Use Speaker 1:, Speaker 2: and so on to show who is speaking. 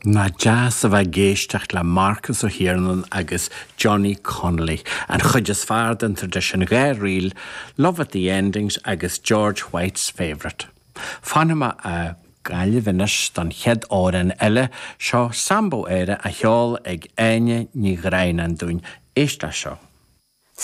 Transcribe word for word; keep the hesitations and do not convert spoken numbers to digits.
Speaker 1: Nach deas a bheith ag éisteacht le Marcus Ó hIarnáin agus Johnny Connolly, an chuid is fearr den traidisiún dhá ríl, Love at the Endings agus George White's Favourite. Fanfaidh mé i nGaillimh anois don chéad amhrán eile seo Sambo Éire á cheol ag Áine Ní Dhroighneáin dúinn éist leis seo.